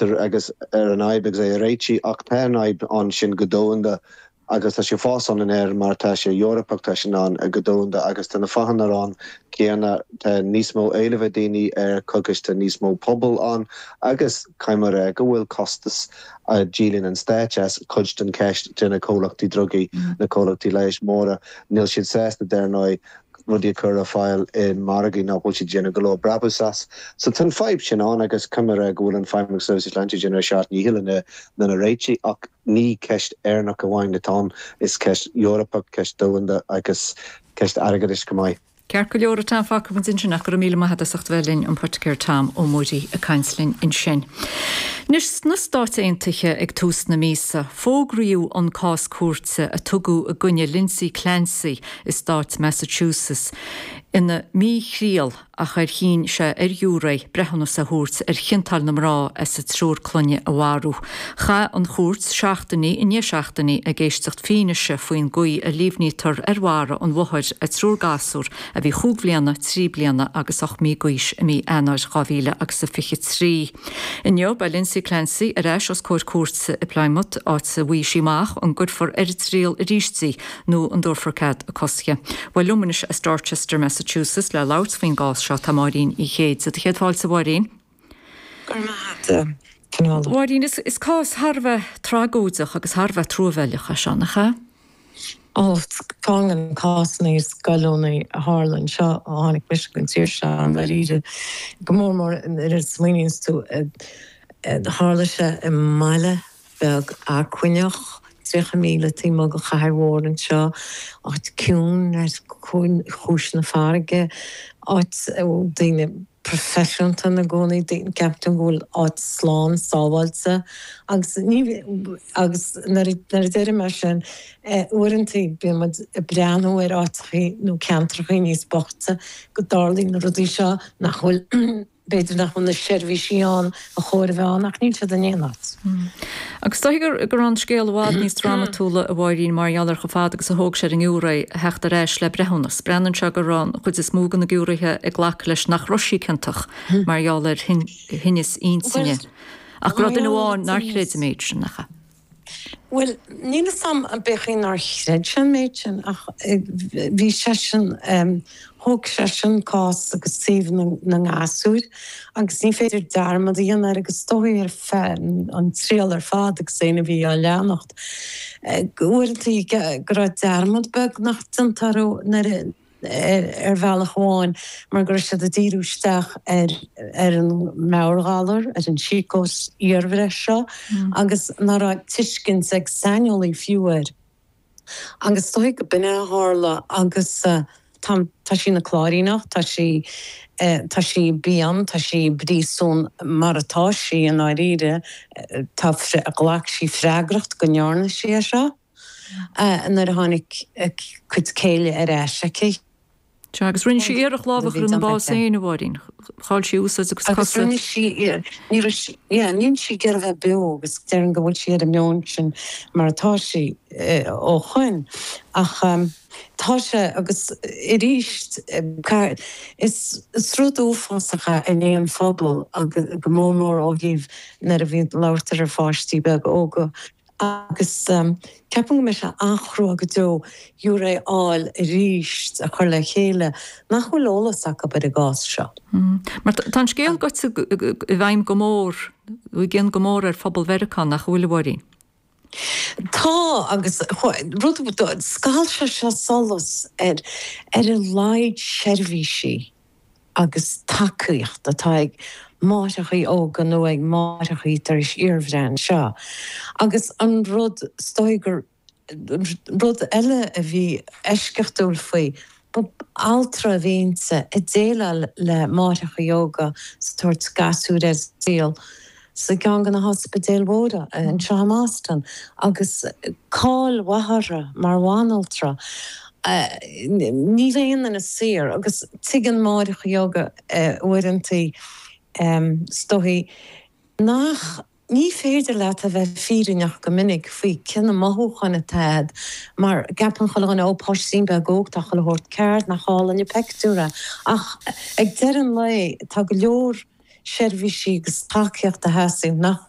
teacht ar agus ar an fhadhb agus é a réitigh ach tá an fhadhb ann sin go domhanda agus tá sé fós ann in Éirinn mar tá sé Eorpach, tá sé ann go domhanda agus tá na fáthanna ann céanna, tá níos mó éilimh ag daoine ar cogas, tá níos mó pobal ann agus caithfidh mé a rá go bhfuil costas a dhíolann an stáit as cuid den cheist de na comhlachtaí drugaí, na comhlachtaí leighis móra, níl siad sásta dar ndóigh rudaí a chur ar fáil i margaí nach bhfuil siad ag déanamh go leor brabús as. So tá an fadhb sin ann agus caithfidh mé a rá go bhfuil an Feidhmeannacht Seirbhísí Sláinte ag déanamh a seacht ndícheall lena réitigh ach ní ceist Éireannach amháin atá ann, is ceist Eorpach, ceist domhanda agus ceist airgeadais chomh maith. Ceart go leor a Tom, fágfaidh muid ansin ach go raibh míle maith agat as ucht a bheith linn, an Poiticéir Tom Ó Muirí ag caint linn ansin. Anois sna Stáit Aontaithe ag tús na míosa, fógraíodh an cás cúirte a tugadh i gcoinne Lindsay Clancy i stát Massachusetts ina míthriail ach ar chinn sé ar ghiúiré breithiúnas a thabhairt ar chiontáil na mná as a triúr clainne a mharú. Chaith an chúirt seachtainí i ndiaidh seachtainí ag éisteacht fianaise faoin gcaoi a líomhnaítear ar mharaigh an mháthair a triúr gasúr a bhí chúig bhliana, trí bliana agus 8 mí d'aois i mí Eanáir 2000 agus a 23. Inniu beidh Lindsay Clancy ar ais os comhair cúirte i Plymouth, áit a bhfaighidh sí amach an gcuirfear ar an triail arís í nó an dtabharfar cead a cosctha. Bhuel liom anois as Dorchester, Massachusetts le labhairt faoin gcás seo tá Máirín Uí Chéide. Do chéad fáilte, a Mháirín. Go raibh maith agat, a Fionnuala. Mháirín, is cás thar a bheith tragóideach agus thar a bheith truamhéileach é seo, nach ea? Ó, ceann de na cásanna is goilliúnaí a tharla anseo ó tháinig mise go an tír seo, i ndáiríre. Go mór mór nuair a smaoiníonns tú, tharla sé i mbaile beag acmhainneach, 30 míle taobh amuigh de chathair mhór anseo, áit ciúin ar chúis na farraige, áit a bhfuil daoine proifisiúnta ina gcónaí, ceapann tú go bhfuil áit slán sábháilte agus ní, agus nuair a deirim é sin, uaireanta bíonn muid ag breathnú ar áiteachaí nó ceantrachaí níos boichte go dtarlaíonn na rudaí seo nach bhfuil B'fhéidir nach bhfuil na seirbhísí ann a chóir a bheith ann ach níl siad in aon áit. Agus is dóichí go raibh an scéal i bhfad níos drámatúla, a Mháirín, mar gheall ar chomh fada agus a thóg sé ar an ngiúiré a theacht ar ais le breithiúnas. Breathnaíonn sé go raibh an chuid is mó de na giúiréithe ag glacadh leis nach raibh sí ciontach mar gheall ar thinneas intinne. Ach go raibh duine amháin nár chreid an méid sin, nach ea? Bhuel, níl 'fhios a'm an b'é chaoi nár chreid sé an méid sin ach bhí seisean, thóg seisean cás agus taobh na ngasúr agus ní féidir dearmad a dhéanamh air agus is dóigh ar feadh an triail ar fad agus éinne a bhí á leanacht, uaireanta go raibh dearmad beagnach déanta orthu nuair a. ar bhealach amháin mar go raibh siad ag díriú isteach ar ar an meabhairghalar, ar an sícóis iarbhreith seo agus nach raibh tuiscint ag saineolaí fiú air. Agus is dóigh go b'in é a tharla agus tá tá sí ina cláiríneach, tá sí tá sí binn, tá sí i bpríosún mar atá sí i ndáiríre, tá ghlac sí freagracht go ndearna sí é seo. nuair a tháinig a cuid céille ar ais aici. Sea, agus rinne sí iarracht lámh a chur ina bás féin, a Mháirín. Chaill sí úsáid a cuid cosa. Agus rinne sí, ní raibh sí, yeah, níl sí ag iarraidh a bheith beo agus déarfainn go bhfuil sí ar an meon sin mar atá sí ó shoin. Ach tá sé, agus arís, is rud uafásach é in aon phobal agus go mór mór ó thaobh nuair a bhíonn labhairt ar pháistí beaga óga. Agus ceapaim go mbeidh sé an-chrua go deo giúiré a fháil arís a chur le chéile nach bhfuil eolas acu ar an gcás seo. Mar tá an scéal gaibhte i bhfeidhm go mór, i gcion go mór ar phobal Mheiriceá, nach bhfuil, a Mháirín? Tá, agus rud, scaoil sé seo solas ar ar a laghad seirbhísí. agus tacaíocht atá ag máithreachaí óga nó ag máithreachaí tar éis iarbhreith anseo. Agus an rud, is dóigh gur rud eile a bhí eisceachtúil faoi, ba altra a bhí inti ag déileáil le máithreachaí óga is ag tabhairt gasúir ar an saol. sa gceann de na hospidéil mhóra anseo i mBoston agus cáil mhaith uirthi mar bhanaltra. Níl aon duine saor agus tuigeann máithreacha óga uaireanta is dóigh nach ní féidir leat a bheith fírinneach go minic faoi cé na mothúcháin atá agat mar ceapann chuile dhuine ó páistín beag óg tá chuile shórt ceart nach álainn an pictiúr é ach ag deireadh an lae tá go leor seirbhísí agus tacaíocht a theastaíonn nach.